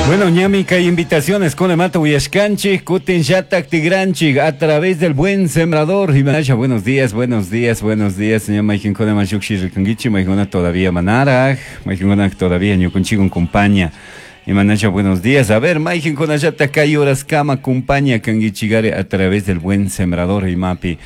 Bueno, ñami kay invitaciones kunamanta uyashkanchik, kutin llatak tigranchik a través del Buen Sembrador. Imanasha, buenos días, buenos días, buenos días. Ña mayqinkuna lluqshi rikankichik, mayqinkuna todavía manaraj, mayqinkuna todavía ñukanchikwan compañía. Imanasha, buenos días. A ver, mayqinkunallata kay horaskama compañía kankichikari a través del Buen Sembrador imapi.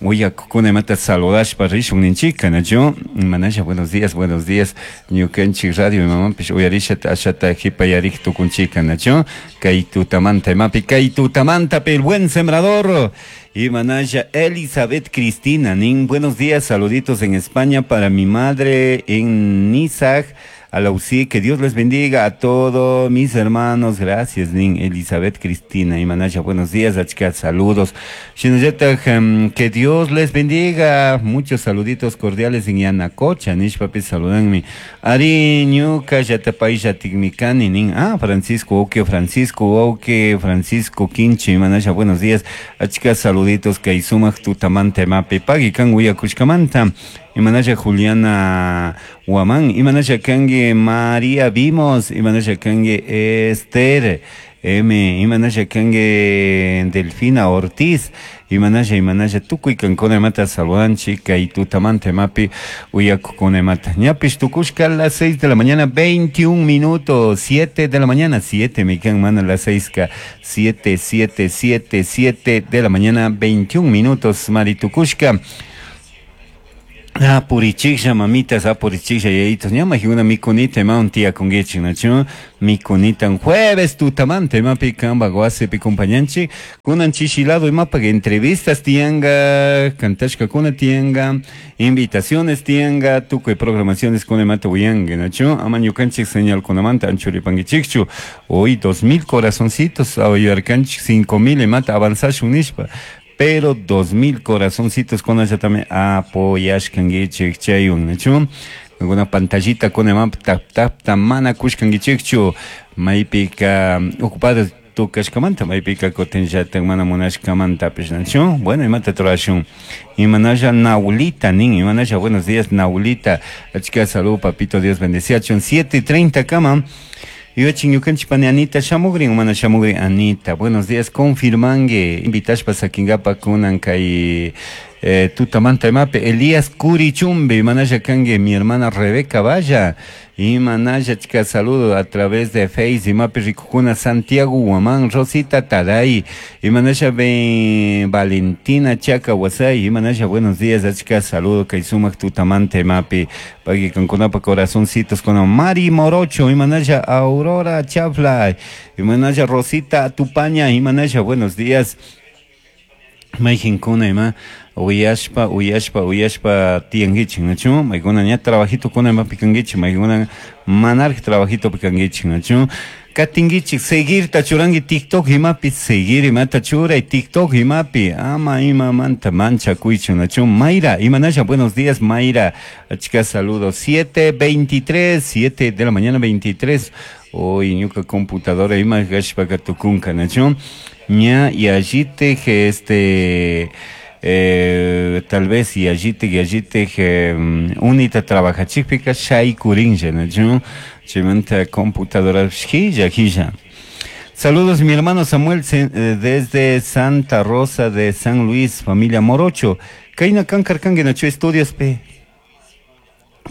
Uyakukuna imata saludashpa rishun ninchika, nachu? Imanasha, buenos días, buenos días. Ñukanchik radio imamanpish uyarishata ashata hipayarik tukunchika, nachu? Kay tutamanta imapi, kay tutamanta el Buen Sembrador. Imanasha Elizabeth Cristina, nin, buenos días, saluditos en España para mi madre en Nizag. Alausí, que Dios les bendiga a todos mis hermanos. Gracias, Nin Elizabeth Cristina. Imanasha, buenos días, achka, saludos. Shinallata, que Dios les bendiga. Muchos saluditos cordiales en Yanacocha. Nishpapi saludanmi. Ari, ñuka, yatapaisha, tikmikani, nin. Ah, Francisco, oke, Francisco, oke, Francisco, Quinche. Imanasha, buenos días. Achka, saluditos, kay sumak tutamanta, mapi, pagi, kan, uyakushkamanta. Imanasha Juliana Guamán, Imanasha kangi María Vimos, Imanasha kangi Esther M, Imanasha kangi Delfina Ortiz, Imanasha, Imanasha tukuy kankuna imata saludanchik, kay tutamanta imapi uyakukuna imata. Ñapish tukushka a las 6 de la mañana, 21 minutos, 7 de la mañana, 7, me quedan mana las 6, ka, 7, 7, 7, 7 de la mañana, 21 minutos, Mari tukushka. Ah, purichiklla, mamitas, ah, purichiklla, yayitos. Ña majiguna mikunita imawan tiyakunkichik, nachu? Mikunita jueves tutamanta imapi kanpak wasipi compañanchik. Kunan chishilado imapak entrevistas tiyanka, kantashkakuna tiyanka, invitaciones tiyanka, tukuy programaciones kuna imata uyanka, nachu? Ama ñukanchik señalkunamanta anchuripankichikchu. Hoy 2000 corazoncitos, ayudarkanchik 5000 imata avanzashun nishpa. Pero 2000 corazoncitos con ella también apoyashkankichik chaywan, nachu? Alguna pantallita con el mapa tap tap tamana kushkankichikchu maypika ocupadas tukashkamanta maypika kutinllatak mana munashkamantapish, nachu? Bueno, imata turashun. Imanasha Naulita, nin, imanasha, buenos días, Naulita. Achka salud, papito, Dios bendeciachun. 7:30 kama. Yuachin ñukanchik pani Anita shamugrin, mana shamugrin Anita. Buenos días, confirmangue. Invitashpa sakinkapa kunan kay tutamanta imapi Elías Curichumbe, imanasha kangue mi hermana Rebeca Valla. Imanasha chika saludo a través de Face, imapi rikukuna Santiago Guamán, Rosita Taday, imanasha Ben Valentina Chaca Huasay, imanasha buenos días, achka saludo kay sumak tutamanta imapi, pagui kankunapa corazoncitos con Mari Morocho, imanasha Aurora Chafla, imanasha Rosita Tupaña, imanasha buenos días. Mayqinkuna ima uyashpa, uyashpa, uyashpa tiyankichik, nachu? Maykuna ña trabajito kuna imapi kankichik, maykuna manaraj trabajito kankichik, nachu? Katinkichik, seguirta churanki TikTok imapi, seguir imata churay TikTok imapi, ama imamanta manchakuychu, nachu? Mayra, imanasha, buenos días, Mayra, achka saludos, 7:23, 7 de la mañana 23, hoy ñuka computadora ima gashpaka tukunka, nachu? Ña y allí te que este, tal vez y allí te, y allí te que, unita trabaja chipika shay kurinja, nachu? Chimanta computadora hilla, hilla. Saludos mi hermano Samuel desde Santa Rosa de San Luis, familia Morocho. Kaina kankar kange nachu estudios pe.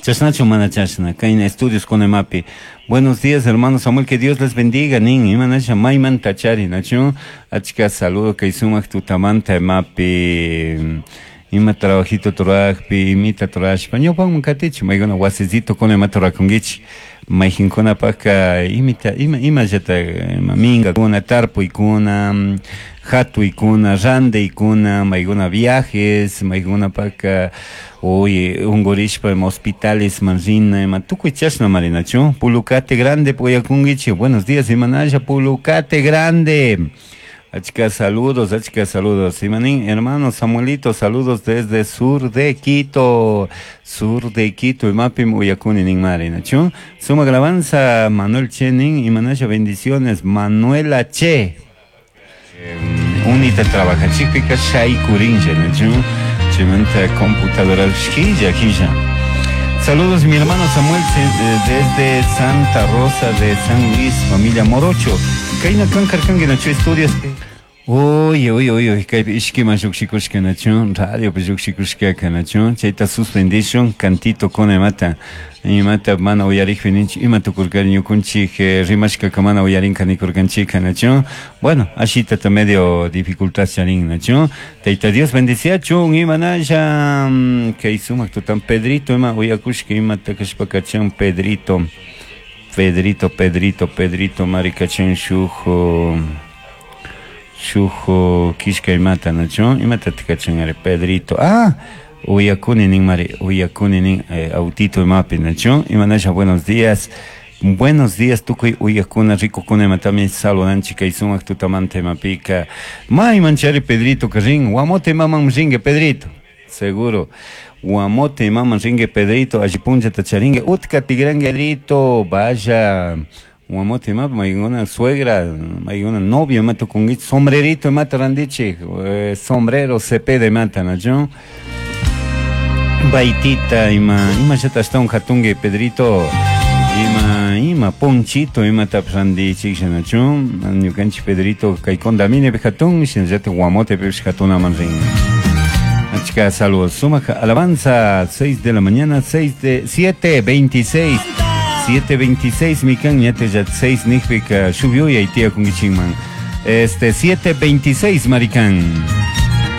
Chasnachu mana chasna, kaina estudios con emapi. Buenos días, hermano Samuel, que Dios les bendiga, nin, imanasha mayman tachari, nachu. Achka saludo kay sumak tutamanta emapi. Ima trabajito turajpi, imita turashpa. Ñawpanman katichi, mayguna wasicito con emata turakunkichik. Mayqinkunapaqqa imita, ima, imallata, ima minkakuna, tarpuykuna, hatuykuna, randaykuna, mayguna viajes, maykunapaqqa, uy, unqurishpa ima hospitales man rina, ima tukuy chashna marinachu. Pulucate Grande puyakunkichik. Buenos días, imanasha Pulucate Grande. Achka saludos, achka saludos. Imanín, hermano Samuelito, saludos desde sur de Quito. Sur de Quito, imapim uyakuni nin mari, nachu. Suma alabanza, Manuel Che nin, imanasha bendiciones, Manuela Che. Unita trabaja chipika shay kurinja, nachu. Chimanta computadora hilla, hilla. Saludos mi hermano Samuel desde Santa Rosa de San Luis, familia Morocho. Kayna kan karkanki nachu estudios. Uy, uy, uy, uy, kaypi ishkiman lluqshikushka nachu, radiopi lluqshikushkaka nachu, chayta suspendishun, cantito kuna imata, imata mana uyarikpi ninchik, ima tukurkari ñukunchik rimashkaka mana uyarinka nikurkanchika nachu. Bueno, ashitata medio dificultad charin nachu. Tayta Dios bendiciachun, imanalla, kay sumak tutan Pedrito ima uyakushka imata kashpa kachan Pedrito, Pedrito, Pedrito, Pedrito, mari kachan shuk shuk kishka imata nachu, imata tikachan Pedrito, ah, uyakuni nin mari, uyakuni nin autito imapi nachu, imanasha buenos días. Buenos días, tukuy uyakuna, rikukuna imatami saludanchik kay sumak tutamanta imapika. May manchari Pedrito rin, Guamote imaman ringue Pedrito, seguro. Guamote imaman ringue Pedrito, alli punchata charingue, utka tigrangue Pedrito, vaya. Guamote imapa, maykuna suegra, maykuna novio imata kunguich, sombrerito imata randichik, sombrero cepeda imata nachu. Baitita ima, ima llata ashtawan hatungue Pedrito. Ima, ima, ponchito, ima randichik shinachu, ñukanchik Pedrito kay condamine hatun, shinallata Guamote pish hatunaman rin. Achka saludos, sumak alabanza, 6 de la mañana, 6 de, 7:26, 7:26, mikan, ñate ya 6 nijpika, shuk yuyay tiyakun kichinman. Este, 7:26, maricán.